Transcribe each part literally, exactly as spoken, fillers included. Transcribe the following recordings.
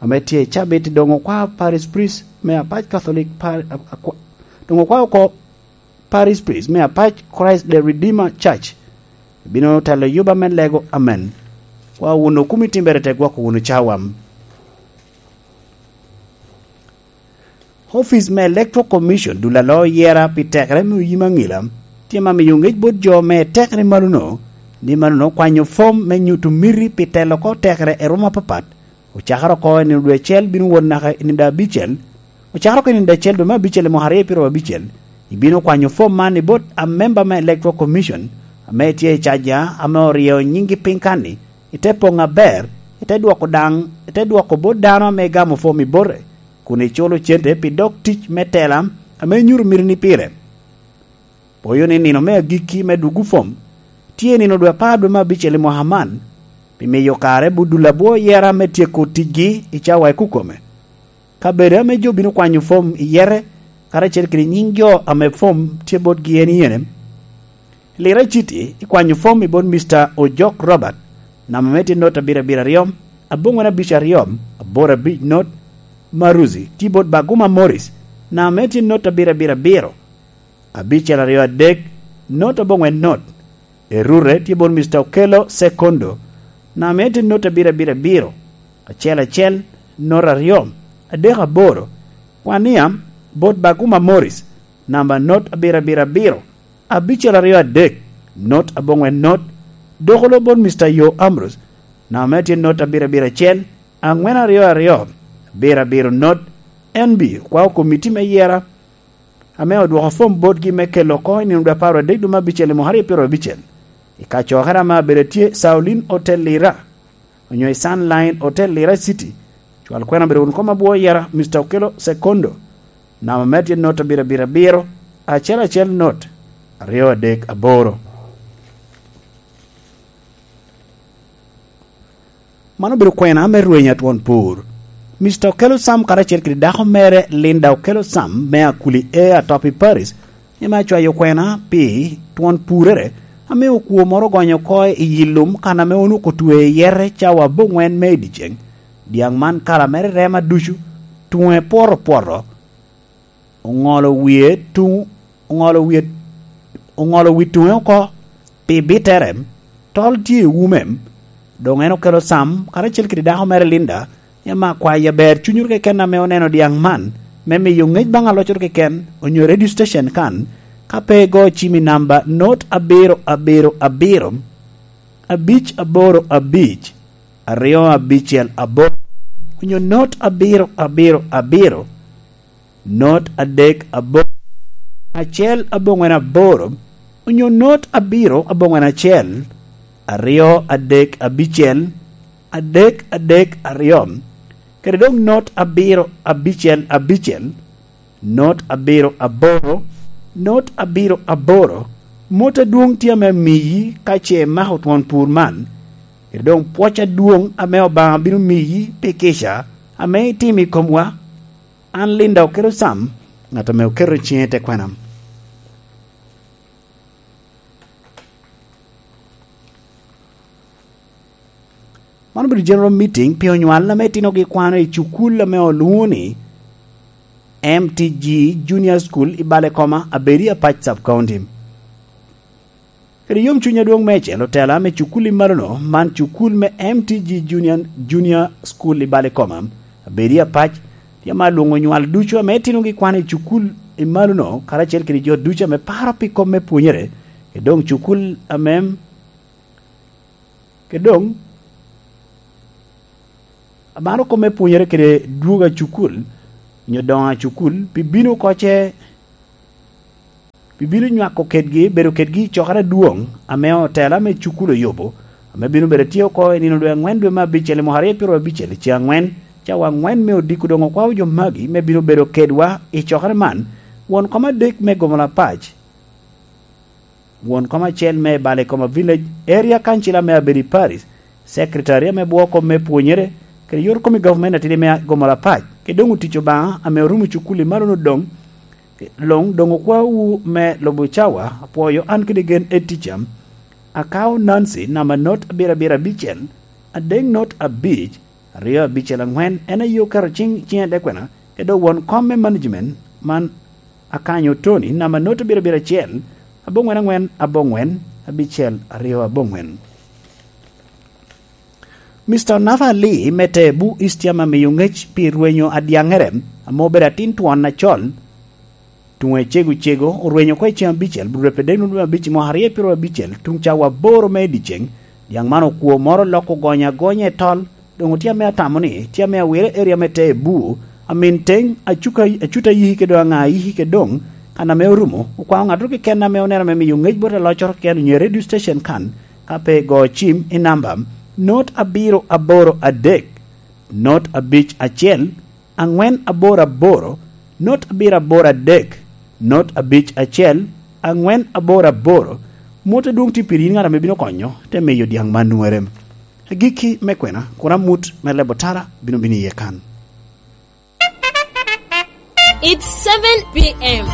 ame tye i cabit, doŋ okwao Parish Priest me apac Catholic Par-, a-, akwa-, doŋ okwao oko Parish Priest me apac Christ the Redeemer Church. Bino telo yuba me lego amen. Kwa wunu kumi timbere te gwoko wunu cawam. Office me Electoral Commission dul alo yera pi tekere me oyim aŋila, tye ma miyo ŋec bot jo me tekere malono, ni malono kwanyo fom me nyuto miti pi telo oko tekere i rwom apapat, ocakere oko i nino dwe acel bino wot naka i nino dwe abicel, ocakere oko i nino dwe acel dwe me abicel i mwaka aryo piro abicel, ibino kwanyo fom man i bot amemba me Electoral Commission, ame tye i caja, ame oryeyo nyiŋgi piny kan-ni, ite poŋ aber, ite dwoko daŋ, ite dwoko bot dano ame igamo fom i bote, kun iculo cente pi dog tic me tela ame inyuto mitini pire. Poyo ni nino me agikki me dwogo fom tye i nino dwe apar dwe me abicel i mwaka man, pi miyo kare bot dul abwo yera me tyeko ticgi i cawa i kukome. Kabedo ame jo bino kwanyo fom i yere, karacel kede nyiŋ jo ame fom tye botgi en i yene. Lira i citi, ikwanyo fom i bot Mister Ojok Robert, namba me tye not abiro abiro aryo, aboŋwen abic aryo, aboro abic not, Maruzi, tye bot Baguma Morris, namba me tye not abiro abiro abiro, abicel aryo adek, not aboŋwen not. Erure tye bot Mister Okello Sekondo, namba me tye not abiro abiro abiro, acel acel, not aryo, adek aboro. Kwania bot Baguma Morris, namba not abiro abiro abiro, abicel aryo adek, not aboŋwen not. Dokolo bot Mister Yo Ambrose, namba me tye not abiro abiro acel, aŋwen aryo aryo, abiro abiro not. N B, kwao komiti me yera, ame odwoko fom botgi me kelo oko i nino dwe apar adek dwe me abicel i mwaka aryo piro abicel, i kacokere ame abedo tye Saulin Hotel Lira, onyo i Sunline Hotel Lira City. Cwal kwena bedo wun kom abwo yera, Mister Okello Sekondo, namba me tye not abiro abiro abiro, acel acel not, aryo adek aboro. Man obedo kwena me rweny atwon pur. Mister Okello Sam karacel kede dako mere Linda Okello Sam me Akuli A atop i Paris, ame acwayo kwena pi twon purere, ame okwo moro ogonyo oko i yi lum kan ame onwoŋo otwe i yete cawa aboŋwen me i dyeceŋ. Dyaŋ man kala mere rema ducu, tuŋe pwoto pwoto, oŋolo wie tuŋ, oŋolo wie, oŋolo wi tuŋe oko pi bitere, tol tye i ume. Doŋ en okelo Sam, karacel kede dako mere Linda, ni ame akwayo aber cunywu keken ame oneno dyaŋ man, me miyo ŋec baŋ aloccoro keken, onyo radio station kan, ka pe igo cim i namba not abiro abiro abiro, abic aboro abic, aryo abicel aboro, onyo not abiro abiro abiro, not adek aboro, acel aboŋwen aboro, onyo not abiro aboŋwen acel, aryo adek abicel, adek adek aryo, kede doŋ not abiro abicel abicel, not abiro aboro, not abiro aboro. Mot adwoŋ tye ame amiyi ka ce imako twon pur man, kede doŋ pwoc adwoŋ ame Obaŋa bino miyi pi kica ame itimo i komwa. An Linda Okello Sam, ŋat ame oketo ciŋe i te kwena. Man obedo general meeting pi onywal ame itinogi kwano i cukul ame olwoŋo ni M T G Junior School i Balekoma, Abedi Apac Sub County. Kede yomcuny adwoŋ meicel, otela me cukul i malono, man cukul me M T G Junior, Junior School i Balekoma, Abedi Apac, tye ame alwoŋo onywal ducu ame itinogi kwan i cukul i malono, karacel kede jo ducu ame paro pi kop me pwonyere, kede doŋ cukul ame, kede doŋ amaro kop me pwonyere kede dwogo a cukul, onyo doŋo a cukul, pi bino oko ce pi bino nywako kedgi, bedo kedgi i cokere adwoŋ ame otela me cukul oyubo, ame bino bedo tye oko i nino dwe aŋwen dwe me abicel i mwaka aryo piro abicel i ceŋ aŋwen, cawa aŋwen me odiko doŋ okwao jo magi me bino bedo kedwa i cokere man, won kom adek me Gomola Pac, won kom acel me Balekoma Village Area Council ame abedo i Paris, Secretary ame bwoko me pwonyere, kede yor kom i government atidi me Gomola Pac, kede doŋ otic Obaŋa ame orumo cukul i malono doŋ, luŋ doŋ okwaowu me lubo cawa, apwoyo an kede gen etica. Akao Nancy namba not abiro abiro abicel, adek not abic, Aryo abicel aŋwen en aye oketo ciŋ i ciŋe Adekwena, kede won kom me management man Akanyo Tony, namba not abiro abiro acel, aboŋwen aŋwen, aboŋwen, abicel, aryo aboŋwen. Mister Nafa Ali me Tebu East yam amiyo ŋec pi rwenyo adyaŋere, ame obedo atin twon acol, tuŋe cego cego, orwenyo oko i ceng abicel, bur rwepedek nwoŋo abic i mwaka aryo pyero abicel, tuŋ cawa aboro me i dyeceŋ. Dyaŋ man okwo moro loko ogonyo agonya i tol, doŋ otye ame atamo ni tye ame awire eria me Tebu, amin teŋ, acuka, acuta yiki kede doŋ aŋa yiki kede doŋ, kan ame orumo, okwao ŋattoro keken ame oneno ame miyo ŋec bot aloccoro keken onyo i radio station kan, ka pe go cim i namba not abiro aboro adek, not abic acel, aŋwen aboro aboro, not abiro aboro adek, not abic acel, aŋwen aboro aboro, mot adwoŋ tye piri in ŋat ame bino konyo, te miyo dyaŋ man nwoŋere. Agikki me kwena, kun amut me lebo tara bino bino iye kan. It's seven p m.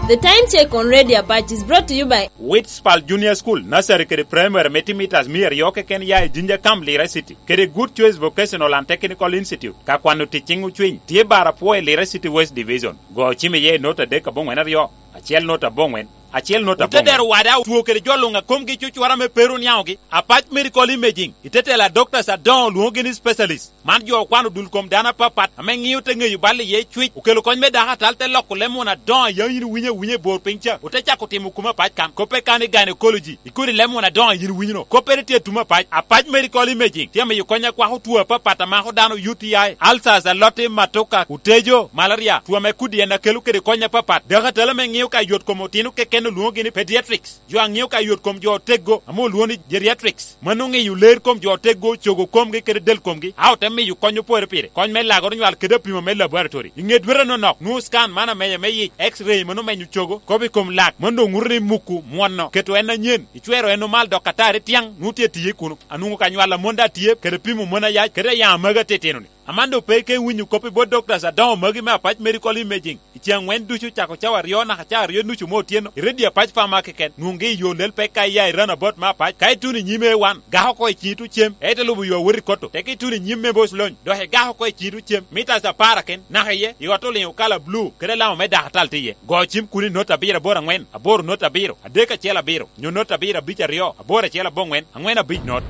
The time check on Radio Apac is brought to you by Witspal Junior School, Nursery kede Primary me timo mitas mia aryo keken ya i Jinja Camp, Lira City, kede Good Choice Vocational and Technical Institute, ka kwano tic ciŋ ocwiny, tye bar apwo i Lira City West Division. Go cim iye i not adek aboŋwen aryo, acel not aboŋwen, acel not aboŋwen. Otedero wada otwo kede jo luŋ a komgi cucura me pero niaŋogi, Apac Medical Imaging, i te tela doctors adoŋo lwoŋogi ni specialist. Man jo okwano dul kom dano apapat ame ŋio te ŋeyo bal iye cwic, okelo kony me dako atal, te loko leb muna adoŋo a yam yin iwinyo awinya i bor piny ca, ote cako timo kome apac kan. Koppe kan i gynecology, i kodi leb muna adoŋo a yin iwinyo no. Koppere tye atum apac. Apac Medical Imaging tye amiyo kony a kwako two apapat a mako dano, U T I, ulcers, aloti, matoka, otejo, malaria, two ame kodi en a kelo kede kony apapat. Dako atal ame ŋio ka yot kom otino keken olwoŋogi ni pediatrics. Jo a ŋio ka yot kom jo oteggo ame olwoŋo ni geriatrics, mano ŋeyo ler kom jo oteggo, cogo komgi kede del komgi, a ote miyo kony opore pire, kony me lagoro nywal kede apimo me laboratory. I ŋe dwete anonok, nwoŋo scan man ameya me yic, X-ray mano menyo cogo, kop i kom lak, mano doŋ ŋuto ni muku mwono, keto en anyen, icwero en omal dok atari tyaŋ, nwoŋo tye tiye kuno. Anwoŋo ka nywal a mon daŋ tye, kede pimo mon ayac, kede ayaŋ a magi atitino-ni. Aman doŋ pe ike winyo kop i bot doctors adoŋo magi me Apac Medical Imaging. I ceŋ aŋwen ducu, cako cawa aryo naka cawa aryo nucu me otyeno, i Radio Apac Farmer keken, nwoŋgi i yo lel pek ka iya i roundabout me Apac. Ka ituno i nyim A one, gak oko i ciŋi tuŋ cem, ite lubo yo awot i Koto. Teke ituno i nyim me Boss Lony, dok igak oko i ciŋi tuŋ cem, mitas apar aken, naka iye, i ot oliŋo kala blu, kede alama me dako atal tye iye. Go cim kuno i not abiro aboro aŋwen, aboro not abiro, adek acel abiro, nyo not abiro abic aryo, aboro acel aboŋwen, aŋwen abic not.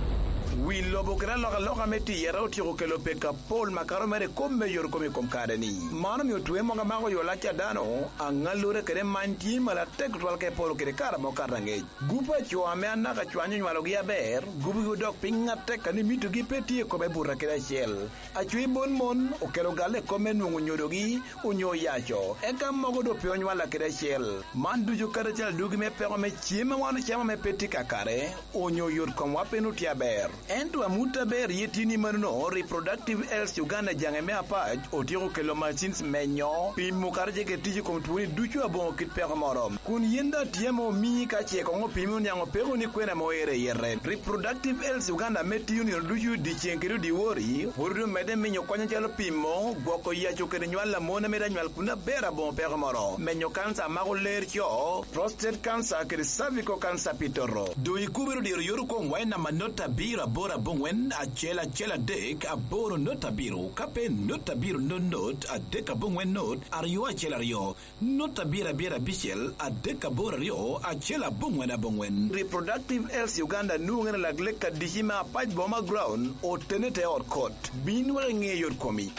Wi lobo kede alokaloka me tiyere otyeko kelo pek apol makato mere i kom me yot kom i kom kare-ni. Man omio twe mogo amako yo lac a dano, aŋallure kede many tye malo atek tutwal ka iporo kede kare ame okato aŋec. Gup a co ame anaka cwany onywalogi aber, gupgi odok piny atek, a ni mitogi pe tye i kome buto kede acel. Acwiny mon mon okelo galle i kom me nwoŋo nyodogi onyo oyaco, eka mogo doŋ pe onywalla kede acel. Man ducu kadi acel adugi me peko me cem a wan ocamo ame pe tye kakare, onyo yot komwa pe nwoŋo tye aber. Ento amut aber iye tye ni manono, Reproductive Health Uganda jaŋe me Apac otyeko kelo machines menyo, pimo kadi ce kede tic i kom twoni ducu aboŋo kit peko moro. Kun yin daŋ tye ame omii ka ce koŋ opimi oniaŋ opeko ni kwena ame oero i yete. Reproductive Health Uganda ame tiyo nino ducu dyeceŋ kede dyewor, pwod omedde miyo kony acalo pimo, gwoko yaco kede nywal a mon a mito anywal kun aber aboŋo peko moro, menyo kanca a mako ler co, prostate cancer kede cervical cancer pi toto. Doŋ ikubere diro yot okomwa i namba not abiro aboro aboŋwen acel acel adek aboro not abiro, ka pe not abiro not not adek aboŋwen not aryo acel aryo. Not abiro abiro abicel adek aboro aryo acel aboŋwen aboŋwen. Reproductive Health Uganda nwoŋere lak lek adici me Apac Boma Ground, otene te ot kot. Bin wek iŋe yot komi.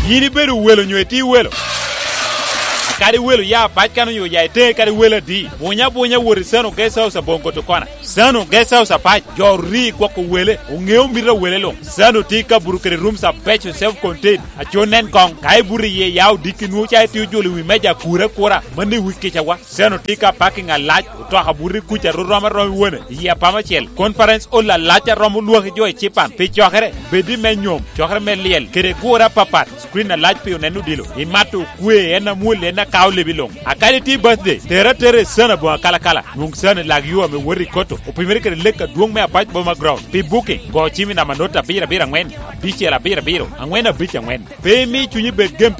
Yin ibedo welo nyo itye welo? Kadi welo ya Apac kan onyo ya iteŋe kadi welo adi, bunya bunya wot i Sano Guest House aboŋo Koto Kona. Sano Guest House Apac, jo ori gwoko wele, oŋeo mito a wele luŋ. Sano tye i kabuto kede rooms abeco, self contained, aco nen koŋ. Ka ibuto iye ya odiki nwoŋo ca itye ojolo i wi meja akura akura, mano i wi kicawa. Sano tye ka parking alac, otoka buto i kuca ru rom arom i wone, i apama acel. Conference hall alac a romo lwaki jo i cipan. Pi cokere, bed i me nyom, cokere me lyel, kede gure apapat. Screen alac pi oneno odilo. Imato okwe, en amwol, en akao lebi luŋ. A kadi tye birthday, tere atera i Sano aboŋo akalakala. Nwoŋ Sano i lak yo ame woto i Koto, opimere kede lek adwoŋ me Apac Boma Ground. Pi booking, go cim i namba not abiro abiro aŋwen, abicel abiro abiro, aŋwen abic aŋwen. Pe imi cunyi bed gem